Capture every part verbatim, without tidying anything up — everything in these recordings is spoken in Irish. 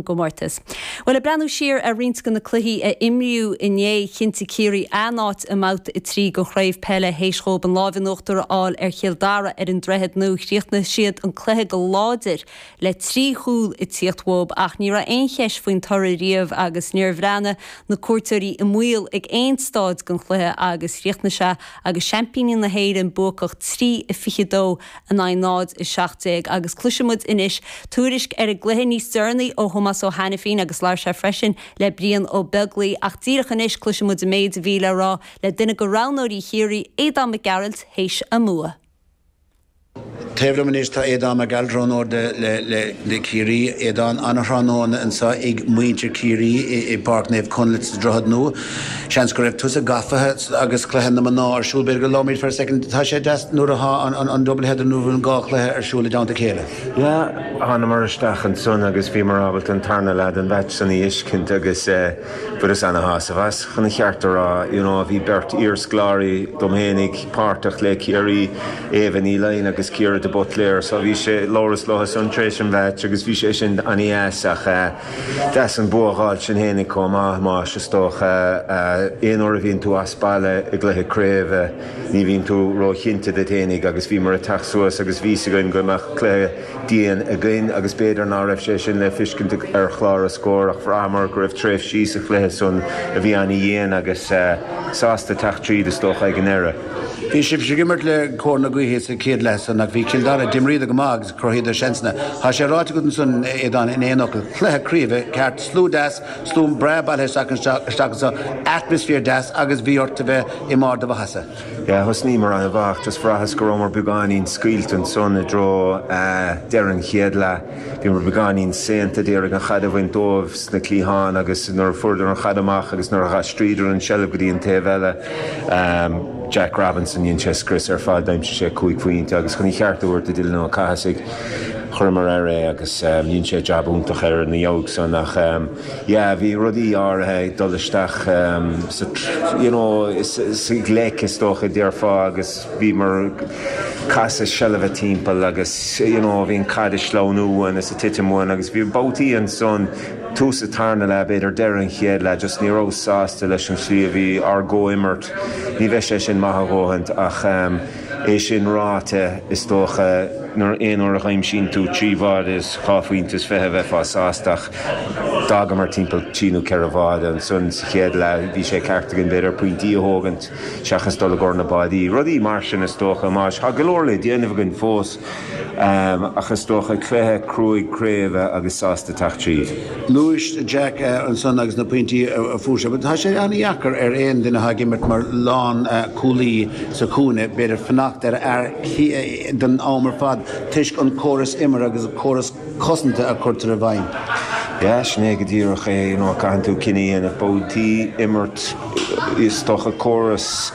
gcomórtas. Well ag breathnú siar ar roinnt de na cluichí a imríodh inné chinntigh Ciarraí a n-áit i mbabhta a trí den chraobh peile théis dóibh an lámh in uachtar a fháil ar Chill Dara ar an Droichead Nua. Chríochnaigh siad an cluiche go láidir le trí chúl ag tíocht uathu ach ní raibh aon cheist faoin toradh riamh agus níor bhreathnaigh na cuairteoirí i mbaol ag aon staid den chluiche agus chríochnaigh sé agus seaimpíní na hÉireann buacach trí a fiche dó in aghaidh náid a seacht déag agus cloisfidh muid anois tuairisc ar an gcluiche níos deireanaí ó Thomás Ó hAiniféin agus labhair sé freisin le Brian Ó Beaglaoi ach díreach anois cloisfidh muid an méid a bhí le rá le duine de roghnóirí Chiarraí, Aodán Mac Gearailt, théis a mbua. Taobh liom anois tá Aodán Mac Gearailt, roghnóir le Ciarraí. Aodán, an-thráthnóna anseo ag muintir Chiarraí i bPáirc Naomh Conleth sa Droichead Nua. Seans go raibh tusa gafa agus cluiche na mná ar siúl, b'fhéidir go labhróimid for a second. Tá sé deas nuair atá an double header nó an dhá chluiche ar siúl i dteannta a chéile. Yeah, thánamar isteach ansan agus bhíomar ábalta an tarna leath den mheaits san a fheiscint agus fuaireas ana-shásamh as. Chun an cheart a rá, you know, bhí beirt iarscoláirí dom fhéinig páirteach le Ciarraí, Éabha Ní Laighin agus Ciara de Buitléar, so bhí sé labhras leo san tar éis an mheaits agus bhí sé sin an-dheas ach deas an bua a dh'fháilt sinn fhéinig chomh maith, más is dócha aon uair a bhíonn tú as baile i gcluiche craoibhe ní bhíonn tú róchinnte díot fhéinig agus bhíomar ag teacht suas agus bhí 'fhios againn go mbeadh cluiche dian againn agus b'fhéidir ná raibh sé sin le feiscint ar chlár an scóir ach bhraitheamar go raibh tréimhsí sa chluiche san a bhí an-dhian agus sásta teacht tríd is dócha ag an ndeireadh. Bhí sibh ag imirt le cóir na gaoithe sa chéad leath san ach bhí Cill Dara, d'imríodar go maith agus chruthaíodar seansanna. Tá sé ráite agat ansan, Aodán, in aon fhocal, cluiche craoibhe ceart, slua deas, slua breá bailithe isteach isteach anseo, atmaisféar deas agus bhí ort a bheith i mbarr do mhaitheasa. Yeah, thosnaíomar an-mhaith, just bhraitheas go rabhamar beagáinín scaoilte ansan i dtreo deireadh an chéad leath. Bhíomar beagáinín saonta, d'iarraidh an chaid a bhaint dóibh sna cliatháin agus nuair a fuaireadar an chaid amach agus nuair a d'aistríodar an tseilbh go dtí an taobh eile, Jack Robinson, dhein sé scrios ar fad, d'aimsigh sé cúig phointe agus chun an cheart a thabhairt do Dylan Ó Cathasaigh, chuireamar air é agus dhein sé jab iontach air ina dhiaidh san ach yeah, bhí rudaí áirithe ag dul isteach sa you know, sa ghleic is dócha déarfá agus bhíomar casadh seilbhe timpeall agus you know, bhí an caid ag sleamhnú uainn is ag titim uainn agus bhí babhtaí ansan tús an tarna leath b'fhéidir deireadh an chéad leath just ní raibh sásta leis an slí a bhí ár gcomhimirt ní bheidh sé sin maith a dhóthaint ach é sin ráite is dócha nuair aon uair a aimsíonn tú trí bháide is dhá phointe is fiche bheifeá sásta ach d'fhágamar timpeall trí nó ceithre bháide ansan sa chéad leath bhí sé ceart againn b'fhéidir pointí a thógaint seachas dul i gcomhair na báidí. Rudaí mar sin is dócha más tá go leor le déanamh againn fós ach is dócha cluiche cruaidh craoibhe agus sásta teacht tríd. Luaigh Jack ansan agus na pointí a fuair sé, tá sé an-dheacair ar aon duine atá ag imirt mar lán cúlaí sa chúinne, b'fhéidir fanacht ar fhear don am ar fad toisc an córas imeartha agus an córas cosanta a chuirtear i bhfeidhm. Yeah, sin é go díreach é, you know, caitheann tú cinneadh a dhéanamh babhtaí imirt is dócha córas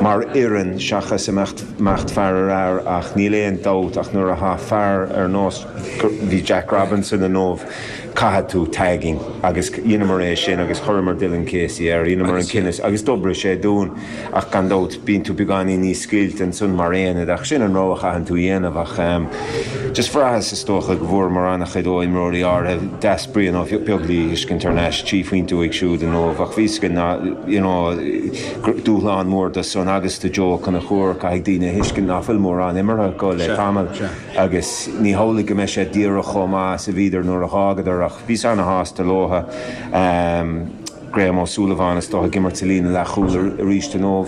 mar fhoireann seachas imeacht imeacht fear ar fhear ach níl aon dabht ach nuair atá fear ar nós bhí Jack Robinson inniu caithfidh tú tagging agus dheineamar é sin agus chuireamar Dylan Casey air, dheineamar an cinneadh agus d'oibrigh sé dúinn ach gan dabht bíonn tú beagáinín níos scaoilte ansan mar aonad ach sin an rogha a chaitheann tú dhéanamh ach just bhraitheas is dócha go bhfuaireamar an-chuid ó imreoirí áirithe deas Brian Ó Beaglaoi a fheiscint thar n-ais trí phointe uaidh siúd inniu ach bhí go ná you know, dúshlán mór do san agus do Joe Conchúr caithfidh daoine a thuiscint ná fuil mórán imeartha acu le tamall agus ní hamhlaidh go mbeidh sé díreach chomh maith is a bhíodar nuair a dh'fhágadar ach bhíos ana-shásta leotha. Um, Graham Ó Súilleabháin is dócha ag imirt sa líne leathchúil arís inniu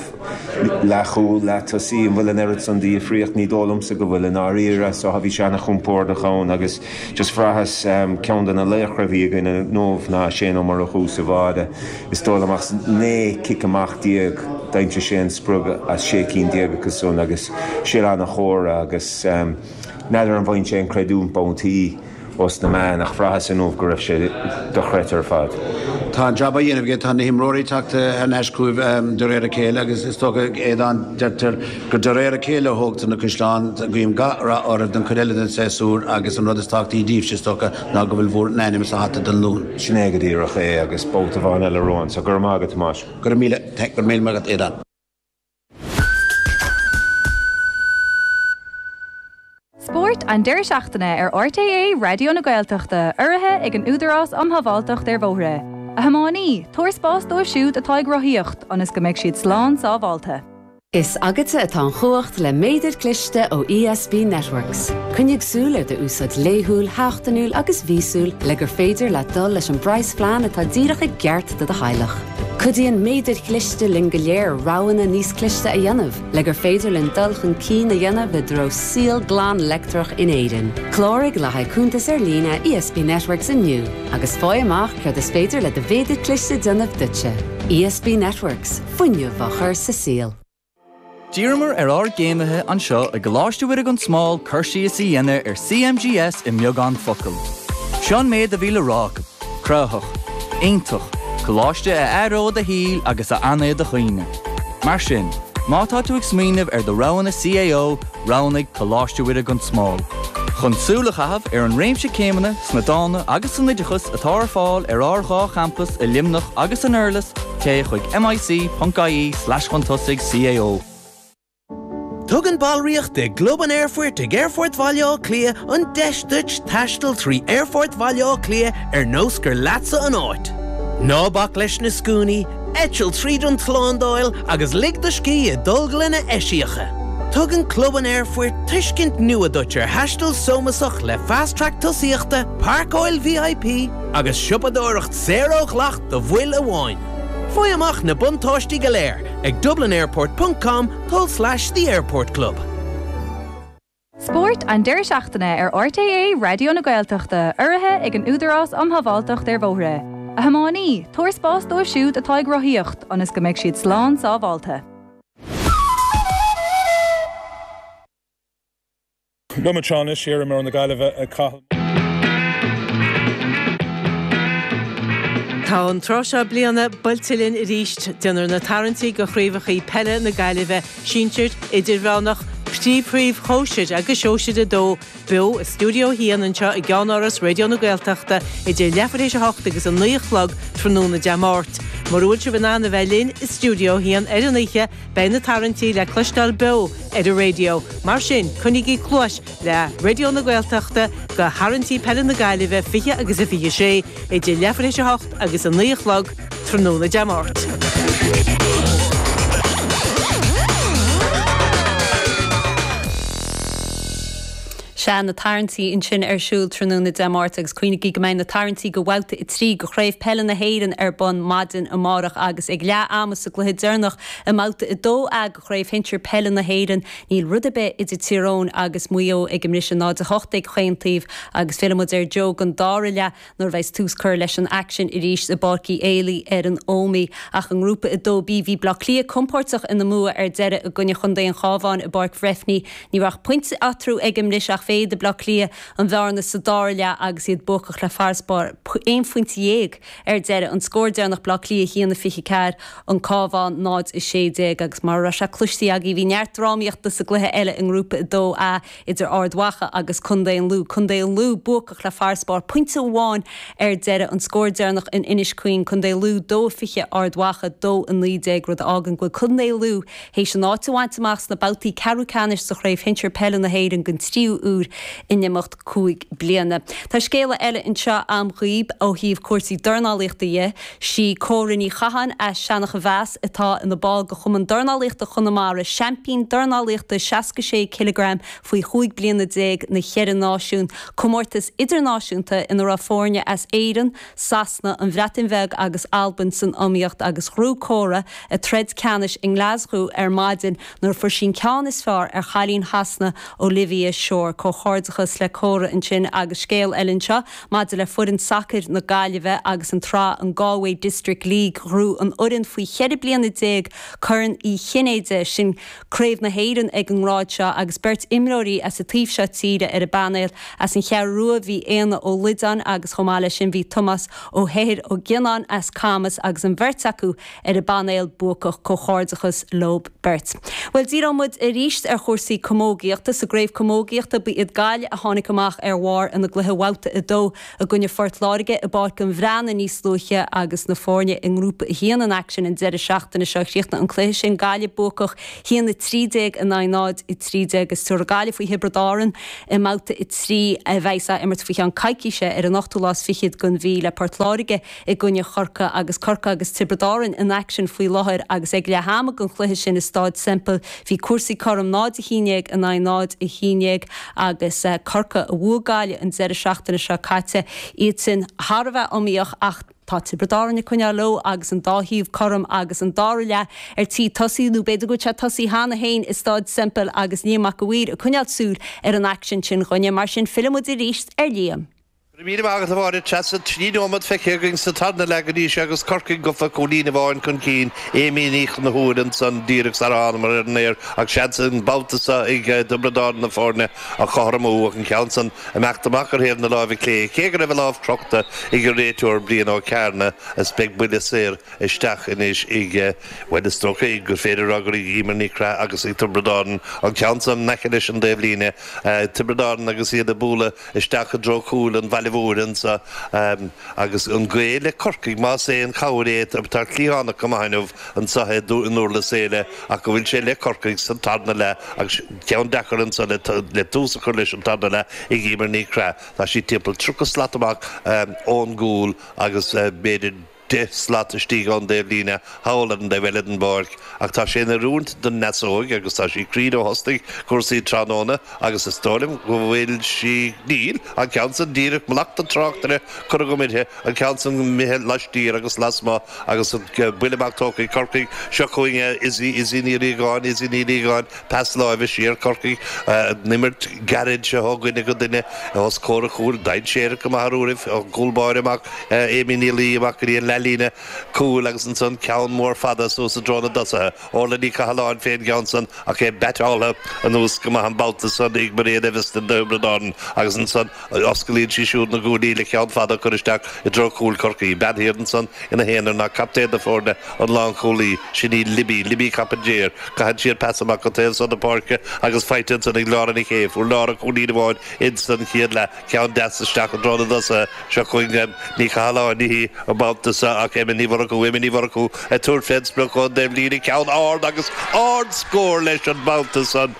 leathchúl leath-tosaí an bhfuil an oiread san de dhifríocht ní dóigh liomsa go bhfuil i ndáiríre so bhí sé an-chompordach ann agus just bhraitheas um, ceann de na laochra a bhí againn inniu ná Shane Ó Murchú sa bháide is dóigh liom ach naoi cic amach déag d'aimsigh sé an sprioc as sé cinn déag acu san agus sé an-chóra agus um, n'fheadar an bhfaigheann sé an creidiúint babhtaí os na meáin ach bhraitheas inniu go raibh sé dochreidte ar fad. Tá an jab á dhéanamh aige tá na himreoirí teacht thar n-ais chugaibh de réir a chéile agus is dócha Aodán deirtear gur de réir a chéile a thógtar na caisleáin guím gach rath oraibh don chuid eile den séasúr agus an rud is tábhachtaí daoibhse is dócha ná go bhfuil bhur n-ainm sa hata don Luan. Sin é go díreach é agus babhta amháin eile romhainn, so go raibh maith agat Tomás. Go raibh míle go raibh míle maith agat Aodán. Spórt Spórt an deireadh seachtaine ar RTÉ Raidió na Gaeltachta urraithe ag an Údarás um Shábháilteacht ar Bhóithre. A thiománaí, tabhair spás dóibh siúd atá ag rothaíocht ionas go mbeidh siad slán sábháilte. Is agatsa atá an chumhacht le méadar cliste ó ESB Networks. Coinnigh súil ar d'úsáid laethúil, sheachtainiúil agus mhíosúil le gur féidir leat dul leis an bpraghasphlean atá díreach i gceart do do theaghlach. Cuidíonn méadair chliste linn go léir roghanna níos cliste a dhéanamh, le gur féidir linn dul chun cinn a dhéanamh i dtreo saol glan leictreach in Éirinn. Cláraigh le haghaidh cuntas ar líne ESB Networks inniu, agus faigh amach céard is féidir le do mhéadar cliste déanamh duitse. ESB Networks, fuinneamh á chur sa saol. D'iarramar ar ár gcéimithe anseo i gColáiste Mhuire gan Smál cur síos a dhéanamh ar CMGS i mbeagán focal. Seo an méid a bhí le rá acu, cruthaitheach, iontach, coláiste a athróidh do shaol agus a fhanfaidh i do chuimhne. Mar sin, má tá tú ag smaoineamh ar do roghanna CAO, roghnaigh Coláiste Mhuire gan Smál. Chun súil a chaitheamh ar an réimse céimeanna sna dána agus san oideachas atá ar fáil ar ár dhá champas i Luimneach agus san Durlas, téigh chuig mic.ie slash chun tosaigh CAO. Tugann ballraíocht i gClub an Aerfoirt ag Aerfort Bhaile Átha Cliath an deis duit taisteal trí Aerfort Bhaile Átha Cliath ar nós gur leatsa an áit. Ná bac leis na scuainí, eitil tríd an tslándáil agus lig do scíth i dtolglanna eisiacha. Tugann Club an Aerfoirt tuiscint nua duit ar thaisteal sómasach le Fast Track tosaíochta, páirceáil VIP agus siopadóireacht saor ó dhleacht do bhaill amháin. Faigh amach na buntáistí go léir ag dublinairport.com tulslais the Airport Club. Spórt an deireadh seachtaine ar RTÉ Raidió na Gaeltachta urraithe ag an Údarás um Shábháilteacht ar Bhóithre. A thiománaí, tabhair spás dóibh siúd atá ag rothaíocht ionas go mbeidh siad slán sábháilte. Liom anseo anois iar-imreoir na Gaillimhe Cathal. Tá an tráth seo bliana buailte linn arís, déanfar na tarraingtí do chraobhacha peile na Gaillimhe, sinsir, idirmheánach, príomh-chraobh shóisir agus sóisir a dó, beo i stiúideo a haon anseo i gceannáras Raidió na Gaeltachta idir leathuair théis a hocht agus a naoi a chlog tráthnóna Dé Máirt. Mura bhfuil sibh in ann a bheith linn i stiúideo a haon ar an oíche, beidh na tarraingtí le cloisteáil beo ar an raidió. Mar sin, coinnígí cluais le Raidió na Gaeltachta do tharraingtí peile na Gaillimhe fiche agus a fiche sé idir leathuair théis a hocht agus a naoi a chlog tráthnóna Dé Máirt. Sea, na tarraingtí ansin ar siúl tráthnóna Dé Máirt agus cuimhnígí go mbeidh na tarraingtí do bhabhta a trí de Chraobh Peile na hÉireann ar bun maidin amárach agus ag leath ama sa gcluiche deireanach i mbabhta a dó A de Chraobh Shinsir Peile na hÉireann. Níl rud ar bith idir Tír Eoghain agus Maigh Eo ag an mbriseadh náid a hocht ag chaon taobh agus fillfidh muid ar Joe don dara leath nuair a bheas tús curtha leis an aicsean arís i bPáirc Uí Éilí ar an Ómaigh. Ach i ngrúpa a dó B bhí Bleá Cliath compóirteach ina mbua ar deireadh i gcoinne Chontae an Chabháin i bPáirc Bhreifne. Ní raibh ach pointe eatarthu ag an mbriseadh ach mhéadaigh Bleá Cliath an bhearna sa dara leath agus iad buacach le farasbarr aon phointe dhéag ar deireadh. An scór deireanach Bleá Cliath a haon a fiche ceathair, an Cabhán náid a sé déag agus mar a raibh sé cloiste agaibh bhí neart drámaíochta sa gcluiche eile i ngrúpa a dó A idir Ard Mhacha agus Contae an Lú. Contae an Lú buacach le farasbarr pointe amháin ar deireadh. An scór deireanach in Inis Caoin, Contae Lú dó a fiche, Ard Mhacha dó a naoi déag, rud a fhágann go bhfuil Contae Lú théis a n-áit a bhaint amach sna babhtaí ceathrú ceannais sa Chraobh Shinsir Peile na hÉireann den tríú huair in imeacht cúig bliana. Tá scéala eile anseo a'm dhaoib ó thaobh cúrsaí dornálaíochta dhe. Sí Córa Ní Chatháin as Seanach a Mheas atá ina ball de Chumann Dornálaíochta Chonamara, seaimpín dornálaíochta seasca sé cileagram faoi chúig bliana déag na Cheithre Náisiún, comórtas idirnáisiúnta ina raibh foirne as Éirinn, Sasana, an Bhreatain Bheag agus Albain san iomaíocht agus ghnóthaigh Córa a troid ceannais i nGlaschú ar maidin nuair a fuair sí an ceann is fearr ar chailín Shasana Olivia Shore. Comhghairdeachas le Córa ansin agus scéal eile anseo maidir le foireann sacair na Gaillimhe agus an tsraith an Galway District League. Ghnóthaigh an fhoireann faoi cheithre bliana déag Corn Uí Chinnéide, sin Craobh na hÉireann ag an ngrád seo agus beirt imreoirí as an taobh seo tíre ar an bpainéal. As an Cheathrú Rua bhí Éanna Ó Loideáin agus chomh maith leis sin bhí Tomás Ó hEithir Ó Gionnáin as Camas agus an bheirt acu ar an bpainéal buacach. Comhghairdeachas leob beirt. Bhuel, díreoidh muid arís ar chúrsaí camógaíochta. Sa gcraobh camógaíochta ba Ba iad Gaillimh a tháinig amach ar bharr ina gcluiche Bhabhta a dó i gcoinne Phort Láirge i bPáirc an Bhreathnaigh níos luaithe agus na foirne i nGrúpa a haon in aicsean an deireadh seachtaine seo. Chríochnaigh an cluiche sin Gaillimh buacach haon a trí déag in aghaidh náid a trí déag agus tabharfaidh Gaillimh faoi Thiobraid Árann i mBabhta a trí a bheas á imirt faoi cheann coicíse ar an ochtú lá is fichead den mhí le Port Láirge i gcoinne Chorcaí agus Corcaigh agus Tiobraid Árann in aicsean faoi láthair agus ag leath ama den chluiche sin i Staid Semple bhí cúrsaí cothrom náid a haon déag in aghaidh náid a haon déag agus Corcaigh a bhuaigh Gaillimh an deireadh seachtaine seo caite iad sin thar a bheith iomaíoch ach tá Tiobraid Árann ag coinneáil leo agus an dá thaobh cothrom agus an dara leath ar tí tosaí nó b'fhéidir go bhfuil sé tosaithe cheana féin i Staid Semple agus Liam Mac a' Mhaoir ag coinneáil súil ar an aicsean sin dhúinne. Mar sin fillfidh muid arís ar Liam. Go raibh míle maith agat a Mháire. Treasa, trí nóiméad feicthe againn sa tarna leath go dtí seo agus Corcaigh gafa cúilín amháin chun cinn. Amy Ní Chonchúir ansan díreach sar a thánamar ar an aer ach seans an babhta seo ag Tiobraid Árann na foirne a chothromú ach an ceann san imeacht amach ar thaobh na láimhe clé cé go raibh a lámh crochta ag an réiteoir Brian Ó Cearna is beidh buille saor isteach anois ag, bhuel is dócha gur féidir a rá gur ag Emer Ní Chreath agus ag Tiobraid Árann an ceann san in aice leis an dtaobhlíne. Tiobraid Árann agus iad ag bualadh isteach i dtreo chúil an bhaile mhóir anso agus an gaoth le Corcaigh más aon chabhair é tá cliathánach go maith inniu anso i nDurlas Éile ach go bhfuil sé le Corcaigh sa tarna leath agus ceann deacair anso le tús a chur leis an tarna leath ag Emer Ní Chreath. Tá sí timpeall tríocha slat amach ón gcúl agus b'fhéidir deich slat istigh ón dtaobhlíne thall ar an dtaobh eile den bpáirc ach tá sé in oiriúint don fheasóig agus tá sí cruinn ó thosnaigh cúrsaí tráthnóna agus is dóigh liom go bhfuil sí, níl, an ceann san díreach mallacht an tráchtaire curtha agam uirthi, an ceann san imithe laistiar agus lasmuigh agus an buille amach tógtha ag Corcaigh, seo chugainn Izzy, Izzy Ní Riagáin, Izzy Ní Riagáin, pas láimhe siar, Corcaigh, an imirt gairid seo ó dhuine go duine os comhair an chúil, dainséarach go maith ar uairibh, an cúl báire amach, Amy Ní Laoi amach go dtí an leathlíne cúil agus ansan ceann mór fada suas i dtreo na dtosaithe, Orla Ní Chathalláin fén gceann san ach é baiteáltha anuas go maith an babhta san ag Mairéad Eviston do Thiobraid Árann agus ansan osclaíonn sí siúd na guaillí le ceann fada a chur isteach i dtreo chúil Chorcaí. Bean thiar ansan ina haonar ná captaen na foirne, an lánchúlaí, sin í Libby, Libby Coppinger. Caitheann sí an pas amach go taobh san na páirce agus faighte ansan ag Lára Nic Aoidh. Fuair Lára cúilín amháin insan chéad leath. Ceann deas isteach i dtreo na dtosaithe. Seo chugainn Ní Chathalláin, ní hí an babhta seo ach Emma Ní Mhurchú, Emma Ní Mhurchú ag tabhairt fén sprioc ón dtaobhlíne. Ceann ard agus ardscór leis an mbabhta san.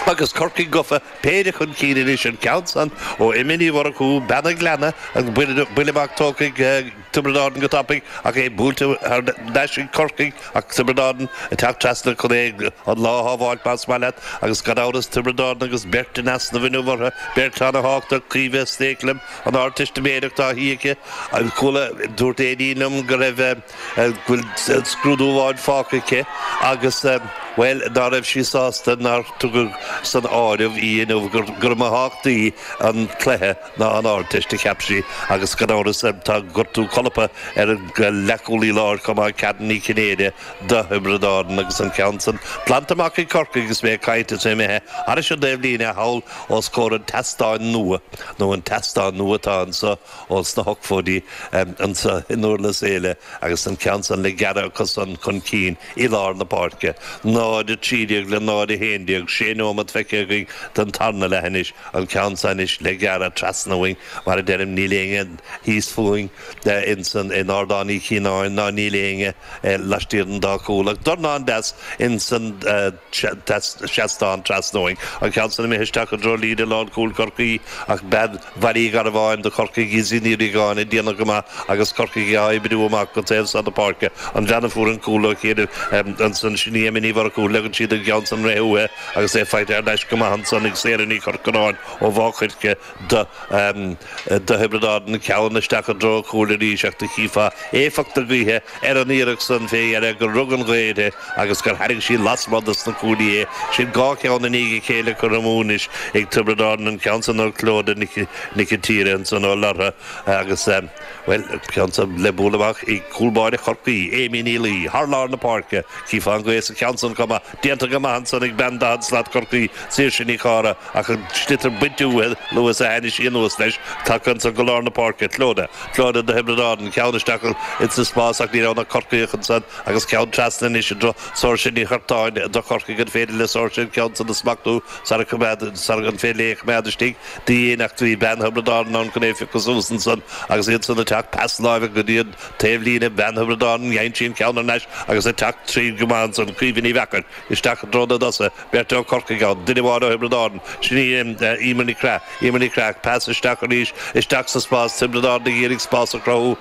Agus Corcaigh gafa péire chun cinn anois an ceann san ó Emma Ní Mhurchú, Bean an Ghleanna, an buille amach tógtha ag Tiobraid Árann go tapaidh ach é buailte thar n-ais ag Corcaigh ach Tiobraid Árann ag teacht trasna chun é an lá a shábháilt más maith leat agus gan amhras Tiobraid Árann agus beirt in easnamh inniu orthu, beirt ana-thábhachtach, Caoimhe Stakelum, an Ardteistiméireacht á shuí aici, chuala, dúirt Aideen liom go raibh, go bhfuil scrúdú amháin fágtha aici agus, bhuel, ná raibh sí sásta nár tugadh san áireamh í inniu, gur mó tábhachtaí an cluiche ná an Ardteist, a cheap sí, agus gan amhras tá gortú colpa ar an leathchúlaí láir chomh maith, Karen Ní Chinnéide do Thiobraid Árann agus an ceann san glanta amach ag Corcaigh agus mé ag caint is é imithe thairis an dtaobhlíne thall os comhair an tseastáin nua, nó an tseastán nua atá anso ós na hochtóidí anso i nDurlas Éile agus an ceann san le gearradh acu san chun cinn i lár na páirce. náid a trí déag le náid a haon déag, sé nóiméad feicthe againn den tarna leath anois, an ceann san anois le gearradh trasna uainn, mar a deirim, níl éinne thíos fúinn insan, in Ardán Uí Chianáin ná níl éinne laistiar den dá chúl ach dornán deas insan seastán trasna uainn. An ceann san imithe isteach i dtreo líne lánchúil Chorcaí ach bean Bhaile Uí Gharbháin do Chorcaigh, Izzy Ní Riagáin, ag déanamh go maith agus Corcaigh á oibriú amach go taobh san na páirce. An bhean a fuair an cúl ó chianaibh ansan, sin í Emma Ní Mhurchú, leagann siad an ceann san réidh uaithi agus é faighte thar n-ais go maith ansan ag Sarah Ní Chorcoráin ó Mhaigh Choirce do Thiobraid Árann, ceann isteach i dtreo an chúil arís ach do chífeá éifeacht na gaoithe ar an iarracht san fé dheireadh gur rug an ghaoth uirthi agus gur tharraing sí lasmuigh dos na cuaillí é. Sin dhá cheann i ndiaidh a chéile curtha amú anois ag Tiobraid Árann, an ceann san ó Clodagh Nic an tSaoir ansan ó Lortha agus, Well ceann san le bualadh amach ag cúl báire Chorcaí, Amy Ní Laoi, thar lár na páirce, chífeá an ghaoth sa cheann san chomh maith, déanta go maith ansan ag bean daichead slat Chorcaí, Saoirse Ní Chara, ach an sliotar bainte uaithi luath is a tháinig sí anuas leis, tagtha ansan go lár na páirce, Clodagh, Clodagh do Thiobraid Árann, ceann isteach insa spás ach ní raibh na Corcaíoch ansan agus ceann trasna anois i dtreo Saoirse Ní Churtáin do Chorcaigh, an féidir le Saoirse an ceann san a smachtú sara coimeád, sara an féidir léi a choimeád istigh di fhéin ach bhí bean Thiobraid Árann ann chun é a phiocadh suas ansan agus iad san ag teacht pas láimhe go dtí an taobhlíne, bean Thiobraid Árann, dhein sí an ceann thar n-ais agus ag teacht tríd go maith ansan, Caoimhe Ní Mheachair isteach i dtreo na dtosaithe, beirt ó Chorcaigh ann, duine amháin ó Thiobraid Árann, sin í Eimear Ní Craith, Eimear Ní Craith, pas isteach arís, isteach sa spás, Tiobraid Árann ag iarraidh spás a chruthú.